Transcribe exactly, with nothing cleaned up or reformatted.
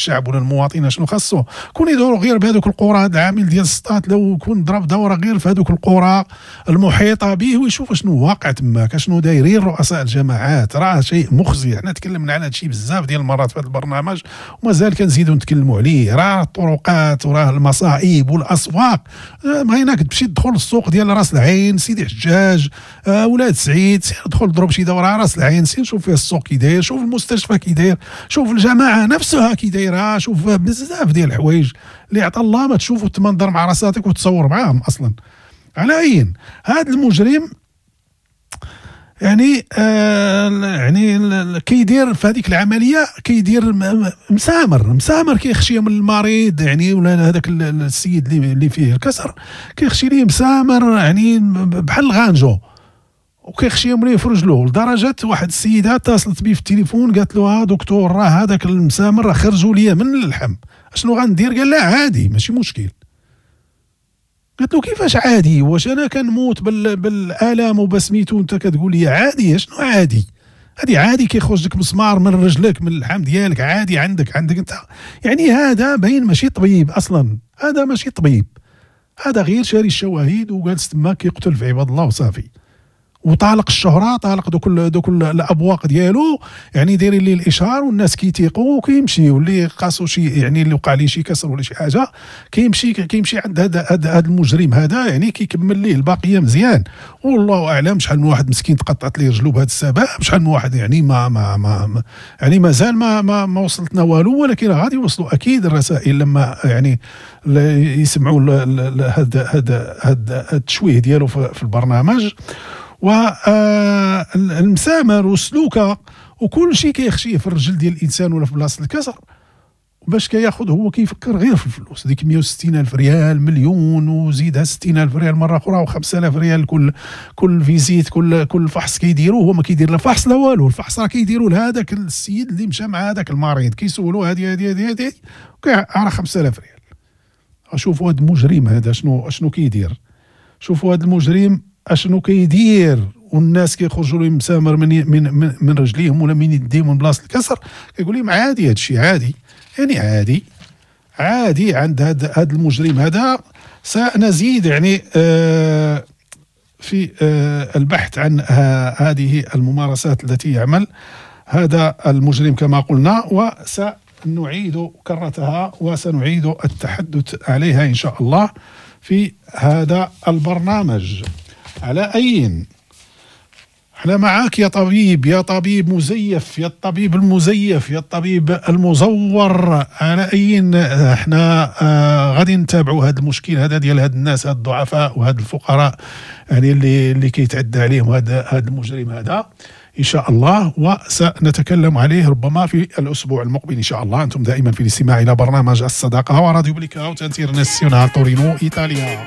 الشعب ولا المواطن شنو خاصو. كون يدوروا غير بهذوك القرى، هذا العامل ديال السطات لو كون ضرب دوره غير في هذوك القرى المحيطة به ويشوف شنو واقع تماك، شنو دايرين رؤساء الجماعات، راه شيء مخزي. حنا تكلمنا على هذا الشيء بزاف ديال المرات في هذا البرنامج ومازال كنزيدوا نتكلموا عليه. راه الطرقات وراه المصائب والاسواق، بغيناك تمشي تدخل السوق ديال راس العين، سيدي حجاج، آه، ولاد سعيد، سير دخل ضرب شي دوره راس العين، سير شوف فيها السوق كي داير، شوف المستشفى كي داير، شوف الجماعة نفسها كي دايرة، شوف بزاف ديال الحوايج اللي عطى الله ما تشوف وتمنظر مع راساتك وتصور معاهم اصلا. على اين هذا المجرم يعني آه يعني كيدير في هذيك العملية كيدير مسامر مسامر كيخشي من المريض يعني ولا هذاك السيد اللي اللي فيه الكسر كيخشي ليه مسامر يعني بحال الغانجو وكيخشيهم ليه في رجلو، لدرجة واحد السيدة اتصلت بيه في التليفون قالت له دكتور راه هذاك المسامر راه خرجوا ليا من اللحم، اشنو غندير؟ قال لا عادي ماشي مشكل. قلت له كيفاش عادي؟ واش انا كنموت بال بالالم وبسميتو انت كتقول لي عادي؟ شنو عادي؟ هذه عادي كيخرج لك مسمار من رجلك من اللحم ديالك عادي عندك عندك انت يعني. هذا باين ماشي طبيب اصلا، هذا ماشي طبيب، هذا غير شاري الشواهد وجالس تما كيقتل في عباد الله وصافي، وطالق الشهرة، طالق دوك دوك الابواق ديالو يعني دايرين ليه الاشهار والناس كيتيقوا وكيمشي، واللي قاسو شي يعني اللي وقع ليه شي كسر ولا شي حاجة كيمشي كيمشي عند هذا هذا المجرم هذا يعني كيكمل ليه الباقية مزيان. والله اعلم شحال من واحد مسكين تقطعت ليه رجلو بهذا السبب، شحال من واحد يعني ما ما ما يعني مازال ما ما, ما وصلتنا والو، ولكن غادي يوصلوا اكيد الرسائل لما يعني يسمعوا هذا هذا هذا التشويه ديالو في البرنامج. والمسامر والسلوكه وكل شيء كيخشيه في الرجل ديال الانسان ولا في بلاصة الكسر باش كياخذ، هو كيفكر غير في الفلوس، ديك مية وستين الف ريال مليون وزيدها ستين الف ريال مرة اخرى وخمسة آلاف ريال كل كل visite كل كل فحص كيديروه. هو ما كيدير لا فحص لا والو، الفحص راه كيديروا لهذاك السيد اللي مشى مع هذاك المريض، كيسولوه هذه هذه هذه هذه راه خمسة آلاف ريال. شوفوا هذا المجرم هذا شنو شنو كيدير، شوفوا هذا المجرم اشنو كيدير، والناس كيخرجوا لهم مسامر من من من, من رجليهم ولا من يديهم من بلاصة الكسر، كيقول لهم عادي هذا الشيء عادي، يعني عادي عادي عند هذا هذا المجرم هذا. سنزيد يعني آه في آه البحث عن هذه الممارسات التي يعمل هذا المجرم كما قلنا، وسنعيد كرتها وسنعيد التحدث عليها إن شاء الله في هذا البرنامج. على أين احنا معاك يا طبيب، يا طبيب مزيف، يا الطبيب المزيف، يا الطبيب المزور. على أين احنا آه غادي نتابعوا هذا المشكل هذا ديال هاد الناس، هاد الضعفاء وهاد الفقراء يعني اللي اللي كيتعدى عليهم هذا هذا المجرم هذا إن شاء الله، وسنتكلم عليه ربما في الأسبوع المقبل إن شاء الله. أنتم دائما في الاستماع إلى برنامج الصداقة وراديو بليكاوت انترناسيونال تورينو إيطاليا.